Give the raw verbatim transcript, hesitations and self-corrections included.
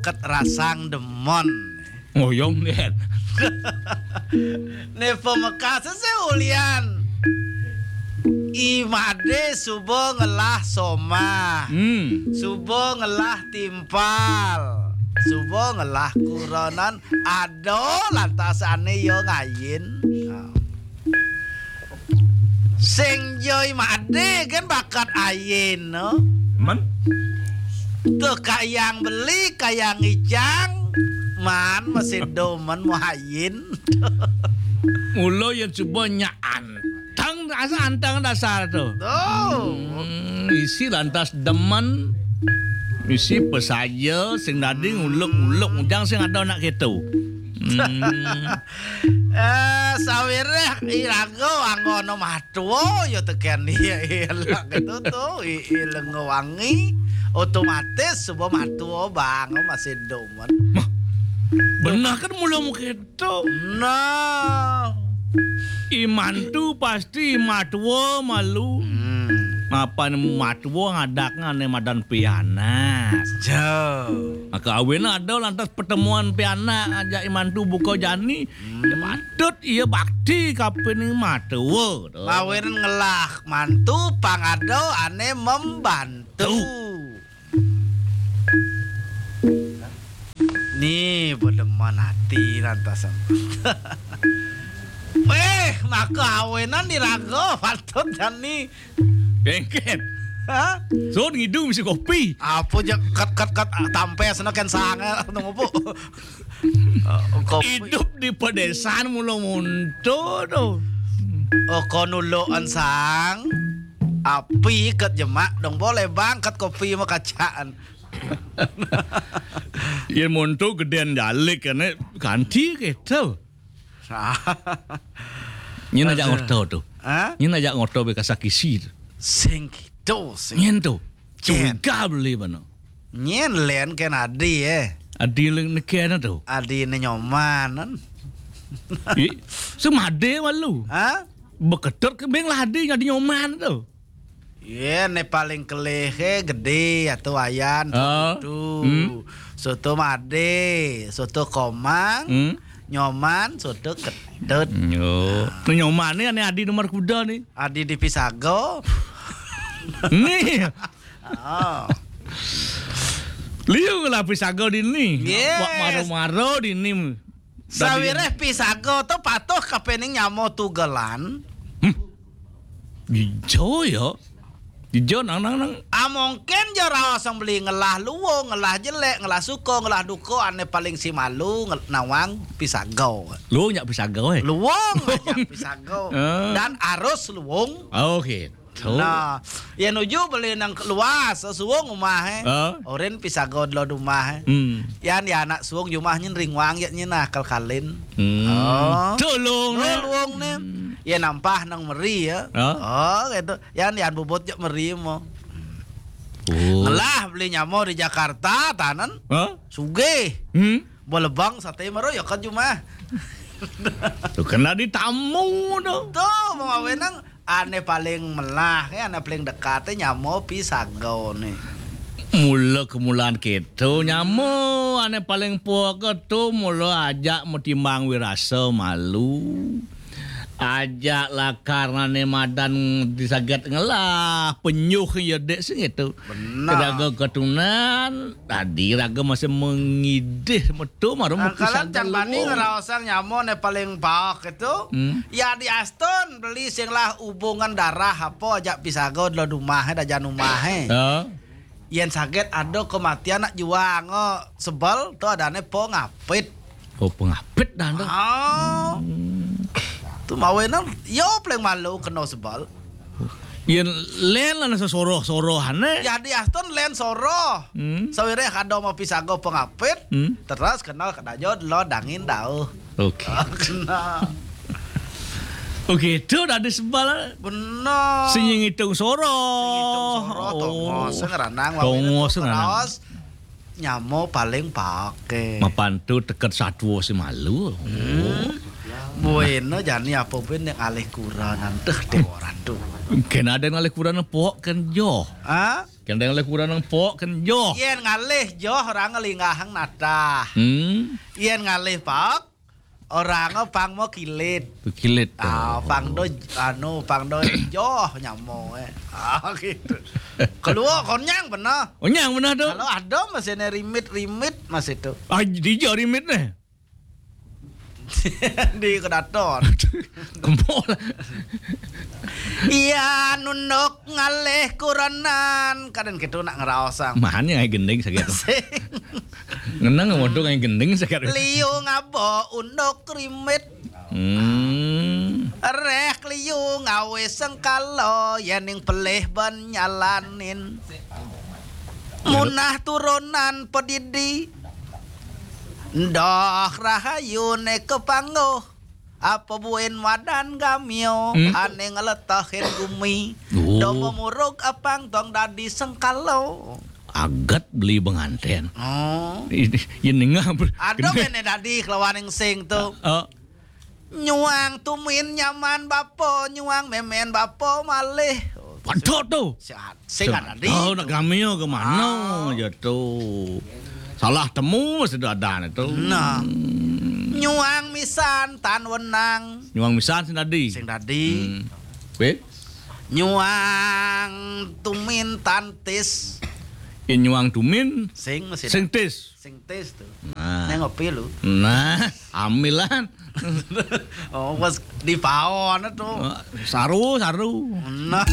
bakat rasang demen. Ngoyong, Dén. Né pamekasé sih ulian. I Madé suba ngelah somah. Hmm. Suba ngelah timpal. Suba ngelah kurenan. Aduh, lantas ané ya ngayin. Nah. Sing joi Madé kan bakat ayin, no. Men? Tuh kayang beli, kayang icang, man masih demen mau ayin. Mula yén suba nyak anteng dasar, anteng dasar to. Tuh. Hmm, isi lantas demen, isi pesaja sing dadi nguluk-nguluk, ujang sing ada anak kéto. Hmm. Eh, sawiréh iraga anggono matua ya tekén dia ilak gitu tuh, i, i lenga wangi, otomatis suba matua bang masih demen. Mah, bener kan mula mungkin to. Nah. I mantu pasti matua malu. Hmm. Mapan matua ngadakna ané madan pianak. Jo. Maka awéna ada lantas pertemuan pianak ajak i mantu buka jani. Hmm. Ya patut ia bakti kapining matua to. Mawinan ngelah mantu pang ada ané membantu. Tuh. Ni bedemen ati lantas. Wéh, maka awinan iraga patut jani. Kéngkén. Hah? Sun ngidu misi kopi. Apa ja kat kat kat tampesna kén sanga nunggu. Kopi. Idup di pedésaan mula monto to. Oh, kon uluan sang. Api kat jemak dong boleh bang kat kopi mah kacaan. Yén monto gedén jalik kan, eh, ganti kéto. Nyén ajak ngorta to. Hah? Nyén ajak ngorta bé kasakisi to. Sing kéto, sing. Nyén to. Curiga beli bana. Nyén lén kén adi, eh. Adi lén nekén to. Adi né Nyoman. Ih, semadé malu. Hah? Beketet ke beng lah adi nyadi Nyoman to. Yé, né paling kelih, eh, gedé atau ayan. Ah. Soto. Hmm. Soto Madé, soto Komang, hmm. Nyoman, soto Ketut. Yo. Nah. Né Nyoman né ané adi nomor kuda né. Adi di Pisago. Nih. Oh. Liu lah Pisago dini. Yes. Wak maro-maro dini. Sawiréh Pisago to patuh kapining nyama tugelan. Hmm. Ijo ya. Ijo nang nang nang. Ah, mungkin ja raos yang beli ngelah luung, ngelah jelék, ngelah suka, ngelah duka, ané paling si malu ngel-, nawang Pisago. Luung nyak Pisago, eh. Luung aja Pisago. Ah. Dan arus luung. Oh, gitu. Nah, ya nuju beli nang luas, suung umah, eh. Ah. Orin Pisago delo dumah, eh. Hmm. Yan ya anak suung jumah nyen ringwang ya nyen akal kalin. Hmm. Oh. Tulung, oh, né. Luung né. Hmm. Ya nampah nang meri ya. Ah. Oh, gitu. Yan, yan bobot jak meri mo. Oh. Ngelah beli nyamo di Jakarta, tanan. Hah? Sugih. Hmm? Bolebang sate maro ya kan cuma. Tuh kena ditamu tuh. Tuh, mau awenang ane paling melah, ya, ane paling dekat, eh, nyamo Pisago nih. Mula kemulaan kita nyamo, ane paling poa tu mula ajak metimbang wirasa malu. Ajak lakar nane madan disaget ngelah, penyuh ya dek sing itu. Benar. Raga ketunan, tadi raga masih mengidih metu maru. Ah, mepis kalian agak can bani luo. Ngeraosang nyamo ne paling paok itu. Hmm. Ya di Aston beli sing lah hubungan darah apa ajak Pisago delo dumah, eh, dajan umah, eh. Ya. Yen saget ada kematian nak juang, oh, sebel tu adane po ngapit. Oh, pengapit dah tu. Ah. Hmm. Tu mawe nang, yo paling malu kena sebal. Yen len lah nasa soroh-soroh ane. Ya di Aston len soroh. Hmm. Sawireh ada mau Pisago pengapit. Hmm. Terus kenal kena jod lo dangin dau. Okey. Kena. Okey, tu dah ada sebal. Benar. Sing ngitung soroh. Sing ngitung soroh, oh. Tongos ngeranang, tongos ngeranang. Nyamo paling pake. Mapan tu teket satwa si malu. Hmm. Buena jani apa buin yang alih kuranan tuh deh orang tuh. Kén ada yang alih kuranan pok kén joh. Ah? Kén ada yang alih kuranan pok kén joh. Yén ngalih joh orang ngelinggahang natah. Hmm. Yén ngalih pok orang pang mau kilit. Kilit. Ah, pang do anu pang do joh nyamo eh. Ah gitu. Keluar konyang benar. Oh, nyang benar tu. Kalau ada masih nih rimit-rimit masih tuh. Ah, di joh rimit nih. Di kedaton. Kempol. Iya nunduk ngalih kuranan kadang gitu nak ngeraosang. Mahan yang gending sakit. Sing. Ngenang modok yang gending sakit. Liu ngabo unduk rimit. Hmm. Reh liu ngawe sengkala yaning pelih ban nyalanin. Munah turunan pedidi. Ndoh rahayu ne kepangguh. Apa buin madan gamio Hmm. Ane ngeletahin gumi. Oh. Domo murug apang tong dadi sengkala. Agat beli pengantin. Oh. Ini ini ngap. Ada mene dadi kelawan yang sing tu. Oh, Nyuang tumin nyaman bapa, nyuang memen bapa malih. Padha tu. Sehat. Sing ada di. Oh, nak gamio ke mana je tu? Salah temu sudah ada tu. Nah. Nyuang misan tan wenang. Nyuang misan sing dadi. Sing dadi. Hmm. Weh, Nyuang tumin tan tis. Nyuang tumin Sing masih sing tis. Sing tis tu. Nah. Neng ngopi lu. Nah, amilan. Oh, pas di paon tu. Saru, saru. Nah.